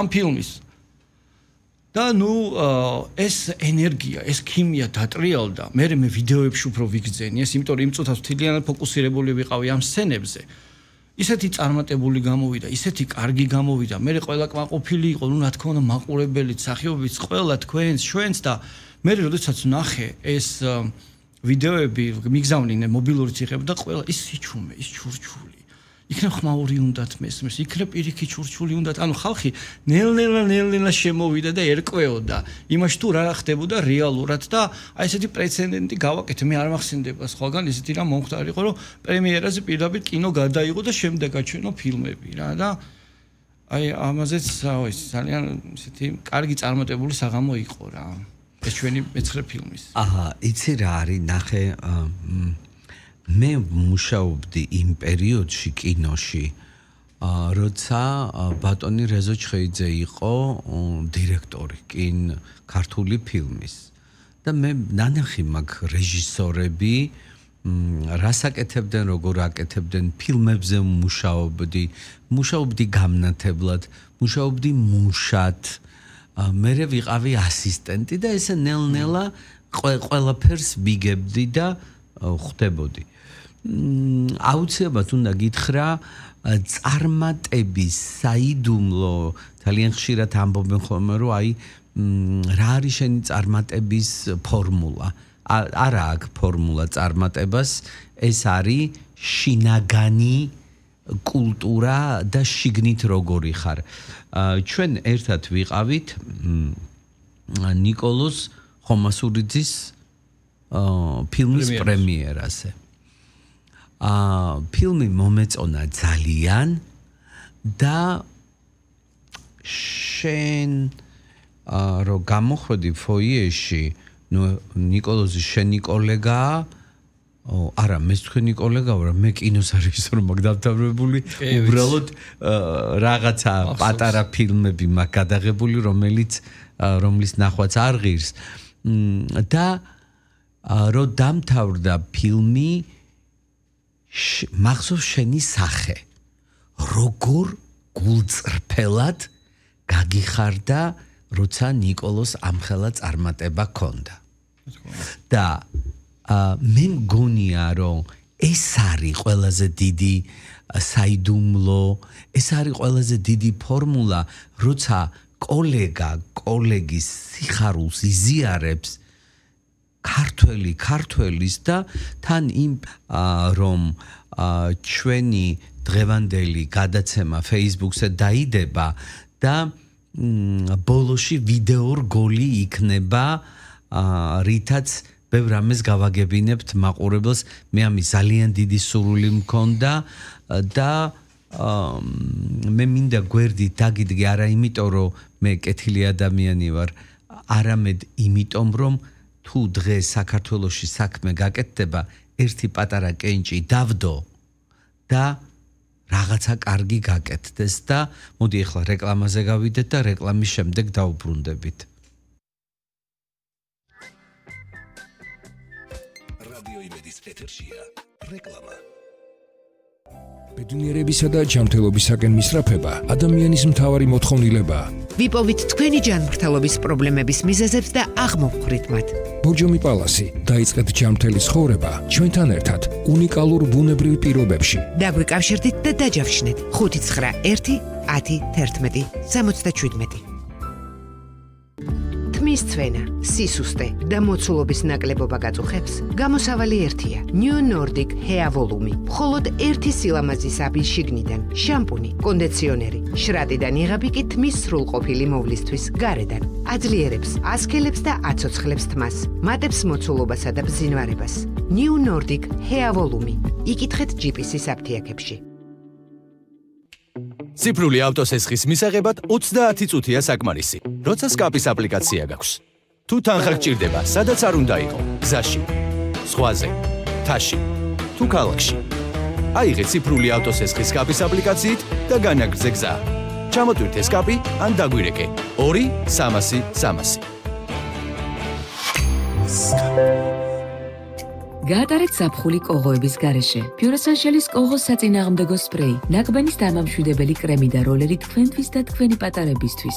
ამ ფილმის. და ეს ენერგია, ეს ქიმია დატრიალდა. მე ვიდეოებში უფრო ვიგრძენი ეს, იმიტომ რომ იმ წუთას მთლიანად ფოკუსირებული ვიყავი ამ სცენებზე. ისეთი წარმატებული გამოვიდა, ისეთი კარგი გამოვიდა. მე ყველა კმაყოფილი იყო, რა თქმა უნდა, მაყურებელიც, მსახიობიც, ყველა თქვენს, ჩვენს და მე როდესაც ნახე ეს ვიდეოები, მიგზავნინე მობილური ციხეები და ყველა ის სიჩუმე, ის ჩურჩული. იქნებ ხმაური უნდათ მესმის, იქნებ პირიქით ჩურჩული უნდათ. ანუ ხალხი ნელ-ნელა შემოვიდა და ერკვეოდა იმაში თუ რა ხდებოდა რეალურად და აი ესეთი პრეცედენტი გავაკეთე. მე არ მახსენდება სხვაგან ისეთი რამ მომხდარიყო, რომ პრემიერაზე პირდაპირ კინო გადაიღო და შემდეგ გაჩვენო ფილმები რა და აი ამაზეც ძალიან ისეთი კარგი წარმატებული საღამო იყო რა. ეს ჩვენი მეცხრე ფილმის. აჰა, იცი რა არის ნახე მე მუშაობდი იმ პერიოდში კინოში, როცა ბატონი რეზო ჩხეიძე იყო დირექტორი ქართული ფილმის. და მე ნანახი მაგ რეჟისორები რას აკეთებდნენ, როგორ აკეთებდნენ, ფილმებზე მუშაობდი გამნათებლად, მუშაობდი მუშად. მე ვიყავი ასისტენტი და ესე ნელ-ნელა ყველაფერს ვიგებდი და ხვდებოდი. აუცილებლად უნდა გითხრა წარმატების საიდუმლო ძალიან ხშირად ამბობენ ხოლმე რომ აი რა არის შენი წარმატების ფორმულა. არა აქვს ფორმულა წარმატებას, ეს არის შინაგანი კულტურა და შიგნით როგორი ხარ. ჩვენ ერთად ვიყავით ნიკოლოზ ხომასურიძის ფილმის პრემიერაზე. ფილმი მომეწონა ძალიან და შენ რო გამოხვედი ფოიეში, ნიკოლოზი შენი კოლეგაა? არა, მე თქვენი კოლეგა ვარ, მე კინოს რეჟისორი მაგ დავთავრებული, უბრალოდ რაღაცა პატარა ფილმები მაგ გადაღებული, რომლის ნახვაც არ ღირს. და რო დამთავრდა ფილმი, მახსოვს შენი სახე. როგორ გულწრფელად გაგიხარდა, როცა ნიკოლოს ამხელა წარმატება ჰქონდა. და მე მგონია, რომ ეს არის ყველაზე დიდი საიდუმლო, ეს არის ყველაზე დიდი ფორმულა, როცა კოლეგის სიხარულს იზიარებს ქართველის და თან იმ რომ ჩვენი დღევანდელი გადაცემა Facebook-ზე დაიდება და ბოლოში ვიდეო რგოლი იქნება, რითაც ბევრ რამეს გავაგებინებთ მაყურებელს. მე ამის ძალიან დიდი სურვილი მქონდა და მე მინდა გვერდით დაგიდგე, არა იმიტომ რომ მე კეთილი ადამიანი ვარ, არამედ იმიტომ რომ თუ დღეს საქართველოში საქმე გაკეთდება, ერთი პატარა კენჭი დავდო და რაღაცა კარგი გაკეთდეს და მოდი ახლა რეკლამაზე გავიდეთ და რეკლამის შემდეგ დავუბრუნდებით. რადიო იმედის ეთერშია რეკლამა. ბედნიერებისა და ჯანმრთელობისაკენ მისწრაფება ადამიანის მთავარი მოთხოვნილებაა. ვიპოვით თქვენი ჯანმრთელობის პრობლემების მიზეზებს და აღმოვხვრით მათ. ბორჯომი პალასი, დაიწყეთ ჯანმრთელი ცხოვრება ჩვენთან ერთად უნიკალურ ბუნებრივ პირობებში. დაგვიკავშირდით და დაჯავშნეთ 591 10 11 77. თმის ცვენა, სისუსტე და მოცულობის ნაკლებობა გაწუხებს, გამოსავალი ერთია. New Nordic Hair Volume. მხოლოდ ერთი სილამაზის აბი შიგნიდან, შამპუნი, კონდიციონერი, შრატიდან იღები კი თმის სრულყოფილი მოვლისთვის გარედან. აძლიერებს, ასქელებს და აცოცხლებს თმას, მატებს მოცულობასა და ბზინვარებას. New Nordic Hair Volume. იკითხეთ GPS-ის აფთიაქებში. ციფრული ავტოსესხის მისაღებად 30 წუთია საკმარისი, როცა სკაპის აპლიკაცია გაქვს. თუ თანხა გჭირდება, სადაც არ უნდა იყო, გზაში, ზღვაზე, თაში, თუ ქალაქში. აიღე ციფრული ავტოსესხის სკაპის აპლიკაციით და განაგრძე გზა. ჩამოტვირთე სკაპი ან დაგვირეკე 2-300-300. გაატარეთ ზაფხული კოღოების გარეშე. Pure-Essentials კოღოს საწინააღმდეგო სპრეი, ნაკბენის დამამშვიდებელი კრემი და როლერი თქვენთვის და თქვენი პატარებისთვის.